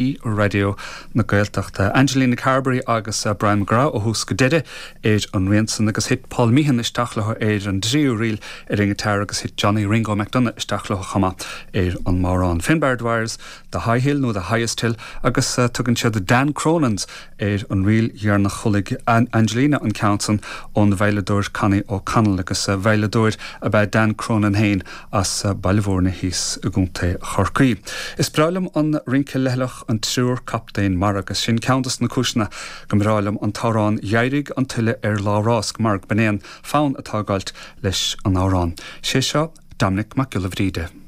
I Raidió na Gaeltachta. Angelina Carberry agus Brian McGrath ó thús go deireadh ar an rian san agus thit Paul Meehan isteach leo ar an dtríú ríl ar an ngiotár agus thit Johnny Ringo McDonagh isteach leo chomh maith ar an mbodhrán. Finbarr Dwyers, The High Hill nó The Highest Hill agus tugann siad Dan Cronin's ar an ríl dheireanach. Chualaidh Angelina an ceann san ón veidhleadóir Connie O'Connell agus veidhleadóir ab ea Dan Cronin féin as Baile Mhúirne thíos i gContae Chorcaí. Is breá liom an rince leithleach An Triúr Captaen Mara agus sin ceann dos na cúiseanna go mbreá liom an t-amhrán Dh'éirigh an tuile ar lá rásc mar gurb in é an fonn atá ag gabhailt leis an amhrán. Sé seo Dominic Mac Giolla Bhríde.